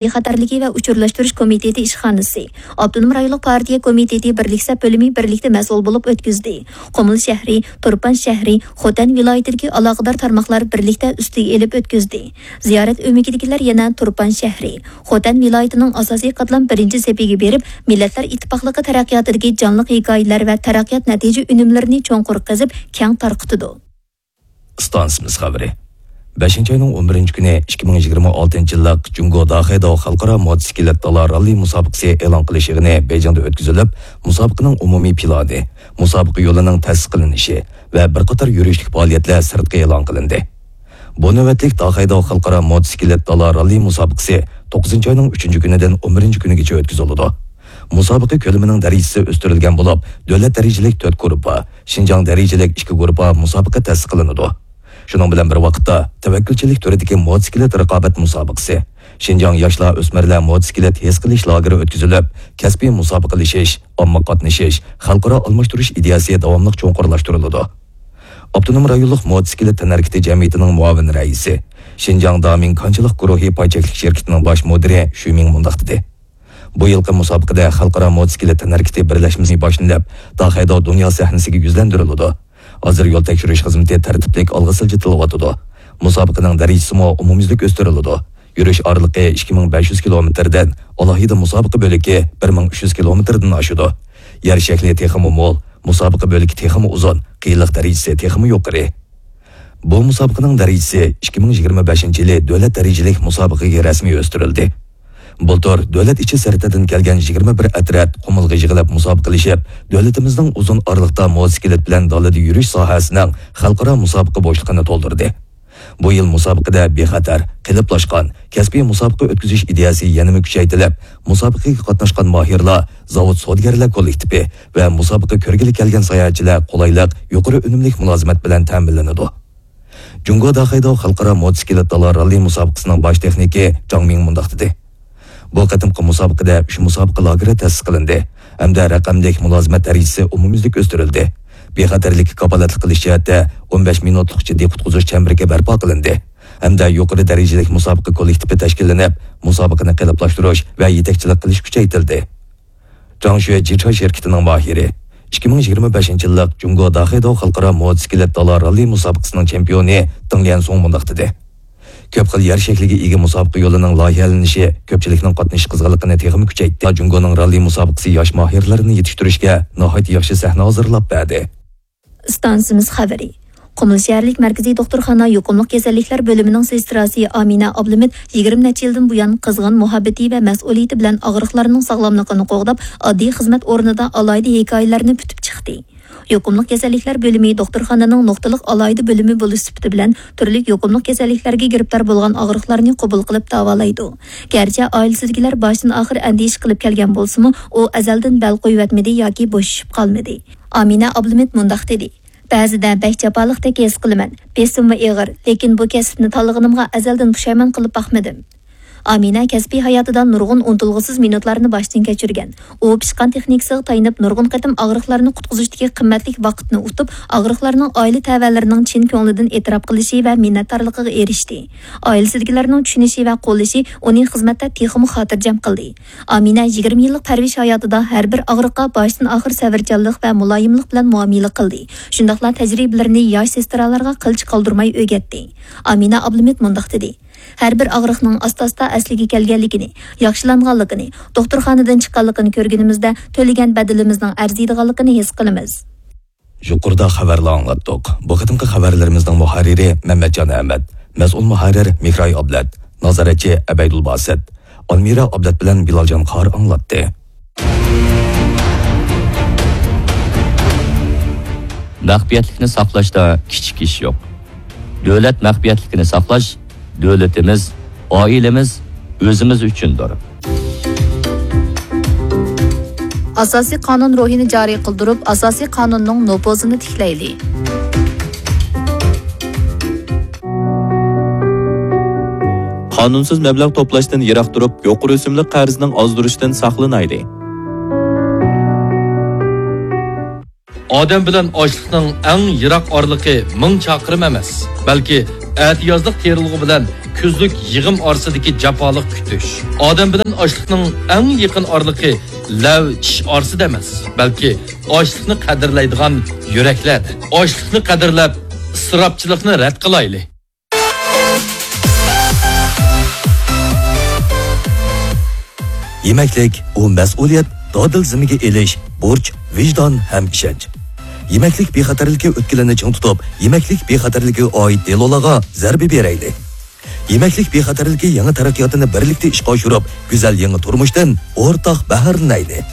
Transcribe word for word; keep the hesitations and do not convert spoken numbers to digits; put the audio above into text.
بىخەتەرلىكى ۋە ئۇچۇرلاشتۇرۇش كومىتېتى ئىشخانىسى، ئاپتونوم رايونلۇق پارتىيە كومىتېتى بىرلىك سەپ بۆلۈمى بىرلىكتە مەسئۇل بولۇپ ئۆتكۈزدى. قۇمۇل شەھىرى، تۇرپان شەھىرى، خوتەن ۋىلايىتىدىكى ئالاقىدار تارماقلار بىرلىكتە ئۈستىگە ئېلىپ ئۆتكۈزدى. زىيارەت ئۆمىكىدىكىلەر يەنە تۇرپان شەھىرى، خوتەن ۋىلايىتىنىڭ ئاساسىي قاتلام بىرىنچى سېپىگە بېرىپ، مىللەتلەر ئىتتىپاقلىقى تەرەققىياتىدىكى جانلىق ھېكايىلەر ۋە تەرەققىيات نەتىجە ئۈنۈملىرىنى چوڭقۇر قېزىپ، كەڭ تارقىتىدۇ. ئىستانسىمىز خەۋىرى. بەشىنچى ئاينىڭ ئون بىرىنچى كۈنى، ئىككى مىڭ يىگىرمە ئالتىنچى يىللىق جۇڭگو داخەيداۋ خەلقئارا موتوسىكلىت دالا راللى مۇسابىقىسى ئېلان قىلىش يىغىنى بېيجىڭدا ئۆتكۈزۈلۈپ، مۇسابىقىنىڭ ئومۇمىي پىلانى، مۇسابىقە يولىنىڭ تەسىس قىلىنىشى ۋە بىر قاتار يۈرۈشلۈك پائالىيەتلەر سىرتقا ئېلان قىلىندى. بۇ نۆۋەتلىك داخەيداۋ خەلقئارا موتوسىكلىت دالا راللى مۇسابىقىسى توققۇزىنچى ئاينىڭ ئۈچىنچى كۈنىدىن ئون بىرىنچى كۈنىگىچە ئۆتكۈزۈلىدۇ. مۇسابىقە كۆلىمىنىڭ دەرىجىسى ئۆستۈرۈلگەن بولۇپ، دۆلەت دەرىجىلىك تۆت گۇرۇپپا، شىنجاڭ دەرىجىلىك ئىككى گۇرۇپپا مۇسابىقە تەسىس قىلىنىدۇ. شۇنىڭ بىلەن بىر ۋاقىتتا، تەۋەككۈلچىلىك تۈرىدىكى موتوسىكلىت رىقابەت مۇسابىقىسى، شىنجاڭ ياشلار ئۆسمۈرلەر موتوسىكلىت ھېس قىلىش لاگېرى ئۆتكۈزۈلۈپ، كەسپىي مۇسابىقىلىشىش، ئامما قاتنىشىش، خەلقئارا ئالماشتۇرۇش ئىدىيەسى داۋاملىق چوڭقۇرلاشتۇرۇلىدۇ. ئاپتونوم رايونلۇق موتوسىكلىت تەنھەرىكىتى جەمئىيىتىنىڭ مۇئاۋىن رەئىسى، شىنجاڭ دامىڭ كانچىلىق گۇرۇھى پاي چەكلىك شىركىتىنىڭ باش مۇدىرى شۈمىڭ مۇنداق دېدى: بۇ يىلقى مۇسابىقىدە خەلقئارا موتوسىكلىت تەنھەرىكىتى بىرلەشمىسى باشلىنىپ، داخەيداۋ دۇنيا سەھنىسىگە يۈزلەندۈرۈلىدۇ. ھازىر يول تەكشۈرۈش خىزمىتى تەرتىپلىك ئالغا سىلجىتىلىۋاتىدۇ. مۇسابىقىنىڭ دەرىجىسىمۇ ئومۇميۈزلۈك ئۆستۈرۈلىدۇ. يۈرۈش ئارىلىقى ئىككى مىڭ بەش يۈز كىلومېتىردىن، ئالاھىدە مۇسابىقە بۆلىكى بىر مىڭ ئۈچ يۈز كىلومېتىردىن ئاشىدۇ. يەر شەكلى تېخىمۇ مول، مۇسابىقە بۆلىكى تېخىمۇ ئۇزۇن، قىيىنلىق دەرىجىسى تېخىمۇ يۇقىرى. بۇ مۇسابىقىنىڭ دەرىجىسى ئىككى مىڭ يىگىرمە بەشىنچى يىلى دۆلەت دەرىجىلىك مۇسابىقىگە رەسمىي ئۆستۈرۈلدى. بۇلتۇر دۆلەت ئىچى سىرتىدىن كەلگەن يىگىرمە بىر ئەترەت قۇمۇلغا يىغىلىپ مۇسابىقىلىشىپ، دۆلىتىمىزنىڭ ئۇزۇن ئارىلىقتا موتوسىكلىت بىلەن دالىدا يۈرۈش ساھەسىنىڭ خەلقئارا مۇسابىقە بوشلۇقىنى تولدۇردى. بۇ يىل مۇسابىقىدە بىخەتەر، قېلىپلاشقان، كەسپىي مۇسابىقە ئۆتكۈزۈش ئىدىيەسى يەنىمۇ كۈچەيتىلىپ، مۇسابىقىگە قاتناشقان ماھىرلار، زاۋۇت سودىگەرلەر كوللېكتىپى ۋە مۇسابىقە كۆرگىلى كەلگەن ساياھەتچىلەر قولايلىق، يۇقىرى ئۈنۈملۈك مۇلازىمەت بىلەن تەمىنلىنىدۇ. جۇڭگو داخەيداۋ خەلقئارا موتوسىكلىت دالا راللى مۇسابىقىسىنىڭ باش تېخنىكى جاڭ مىڭ مۇنداق دېدى: بۇ قېتىمقى مۇسابىقىدە ئۈچ مۇسابىقە لاگېرى تەسىس قىلىندى ھەمدە رەقەملىك مۇلازىمەت دەرىجىسى ئومۇميۈزلۈك ئۆستۈرۈلدى. بىخەتەرلىككە كاپالەتلىك قىلىش جەھەتتە ئون بەش مىنۇتلۇق جىددىي قۇتقۇزۇش چەمبىرىكى بەرپا قىلىندى ھەمدە يۇقىرى دەرىجىلىك مۇسابىقە كوللېكتىپى تەشكىللىنىپ، مۇسابىقىنى قېلىپلاشتۇرۇش ۋە يېتەكچىلىك قىلىش كۈچەيتىلدى. جاڭشۈە جىچاي شىركىتىنىڭ ماھىرى، ئىككى مىڭ يىگىرمە بەشىنچى يىللىق جۇڭگو داخەيداۋ خەلقئارا موتوسىكلىت دالا راللى مۇسابىقىسىنىڭ چېمپىيونى دېڭ ليەنسۇڭ مۇنداق دېدى: كۆپ خىل يەر شەكلىگە ئىگە مۇسابىقە يولىنىڭ لايىھەلىنىشى كۆپچىلىكنىڭ قاتنىشىش قىزغىنلىقىنى تېخىمۇ كۈچەيتتى. جۇڭگونىڭ راللى مۇسابىقىسى ياش ماھىرلىرىنى يېتىشتۈرۈشكە ناھايىتى ياخشى سەھنە ھازىرلاپ بەردى. ئىستانسىمىز خەۋىرى. قۇمۇل شەھەرلىك مەركىزىي دوختۇرخانا يۇقۇملۇق كېسەللىكلەر بۆلۈمىنىڭ سېستراسى ئامىنە ئابلىمىت يىگىرمە نەچچە يىلدىن بۇيان قىزغىن مۇھەببىتى ۋە مەسئۇلىيىتى بىلەن ئاغرىقلارنىڭ ساغلاملىقىنى قوغداپ، ئاددىي خىزمەت ئورنىدا ئالاھىدە ھېكايىلەرنى پۈتۈپ چىقتى. يۇقۇملۇق كېسەللىكلەر بۆلۈمى دوختۇرخانىنىڭ نۇقتىلىق ئالاھىدە بۆلۈمى بولۇش سۈپىتى بىلەن تۈرلۈك يۇقۇملۇق كېسەللىكلەرگە گىرىپتار بولغان ئاغرىقلارنى قوبۇل قىلىپ داۋالايدۇ. گەرچە ئائىلىسىدىكىلەر باشتىن ئاخىر ئەندىشە قىلىپ كەلگەن بولسىمۇ، ئۇ ئەزەلدىن بەل قويۇۋەتمىدى ياكى بوشىشىپ قالمىدى. ئامىنە ئابلىمىت مۇنداق دېدى: بەزىدە بەك جاپالىقتەك ھېس قىلىمەن. بېسىممۇ ئېغىر، لېكىن بۇ كەسىپنى تاللىغىنىمغا ئەزەلدىن پۇشايمان قىلىپ باقمىدىم. ئامىنە كەسپىي ھاياتىدا نۇرغۇن ئۇنتۇلغۇسىز مىنۇتلارنى باشتىن كەچۈرگەن. ئۇ پىشقان تېخنىكىسىغا تايىنىپ، نۇرغۇن قېتىم ئاغرىقلارنى قۇتقۇزۇشتىكى قىممەتلىك ۋاقىتنى ئۇتۇپ، ئاغرىقلارنىڭ ئائىلە تەۋەلىرىنىڭ چىن كۆڭلىدىن ئېتىراپ قىلىشى ۋە مىننەتدارلىقىغا ئېرىشتى. ئائىلىسىدىكىلەرنىڭ چۈشىنىشى ۋە قوللىشى ئۇنى خىزمەتتە تېخىمۇ خاتىرجەم قىلدى. ئامىنە يىگىرمە يىللىق پەرۋىش ھاياتىدا ھەر بىر ئاغرىققا باشتىن ئاخىر سەۋرچانلىق ۋە مۇلايىملىق بىلەن مۇئامىلە قىلدى. شۇنداقلا تەجرىبىلىرىنى ياش سېسترالارغا قىلچە قالدۇرماي ئۆگەتتى. ئامىنە ئابلىمىت مۇنداق دېدى: ھەر بىر ئاغرىقنىڭ ئاستا-ئاستا ئەسلىگە كەلگەنلىكىنى، ياخشىلانغانلىقىنى، دوختۇرخانىدىن چىققانلىقىنى كۆرگىنىمىزدە، تۆلىگەن بەدىلىمىزنىڭ ئەرزىيدىغانلىقىنى ھېس قىلىمىز. يۇقىرىدا خەۋەرلەر ئاڭلاتتۇق. بۇ قېتىمقى خەۋەرلىرىمىزنىڭ مۇھەررىرى مەمەتجان ئەمەت، مەسئۇل مۇھەررىر مېھراي ئابلەت، نازارەتچى ئەبەيدۇل باسىت، ئالمىرا ئابلەت بىلەن بىلالجان قارى ئاڭلاتتى. مەخپىيەتلىكنى ساقلاشتا كىچىك ئىش يوق. دۆلەت مەخپىيەتلىكىنى ساقلاش دۆلىتىمىز، ئائىلىمىز، ئۆزىمىز ئۈچۈندۇر. ئاساسىي قانۇن روھىنى جارى قىلدۇرۇپ، ئاساسىي قانۇننىڭ نوپۇزىنى تىكلەيلى. قانۇنسىز مەبلەغ توپلاشتىن يىراق تۇرۇپ، يۇقىرى ئۆسۈملۈك قەرزنىڭ ئازدۇرۇشىدىن ساقلىنايلى. ئادەم بىلەن ئاشلىقنىڭ ئەڭ يىراق ئارىلىقى مىڭ چاقىرىم ئەمەس، بەلكى ئەتىيازلىق تېرىلغۇ بىلەن كۈزلۈك يىغىم ئارىسىدىكى جاپالىق كۈتۈش. ئادەم بىلەن ئاشلىقنىڭ ئەڭ يېقىن ئارىلىقى لەۋ چىش ئارىسىدا ئەمەس، بەلكى ئاشلىقنى قەدىرلەيدىغان يۈرەكلەردە. ئاشلىقنى قەدىرلەپ، ئىسراپچىلىقنى رەت قىلايلى. يېمەكلىك، ئۇ مەسئۇلىيەت، دادىل زىممىگە ئېلىش، بۇرچ، ۋىجدان ھەم ئىشەنچ. يېمەكلىك بىخەتەرلىكى ئۆتكىلىنى چىڭ تۇتۇپ، يېمەكلىك بىخەتەرلىكىگە ئائىت دېلولارغا زەربە بېرەيلى. يېمەكلىك بىخەتەرلىكى يېڭى تەرەققىياتىنى بىرلىكتە ئىشقا ئاشۇرۇپ، گۈزەل يېڭى تۇرمۇشتىن ئورتاق بەھرىلىنەيلى.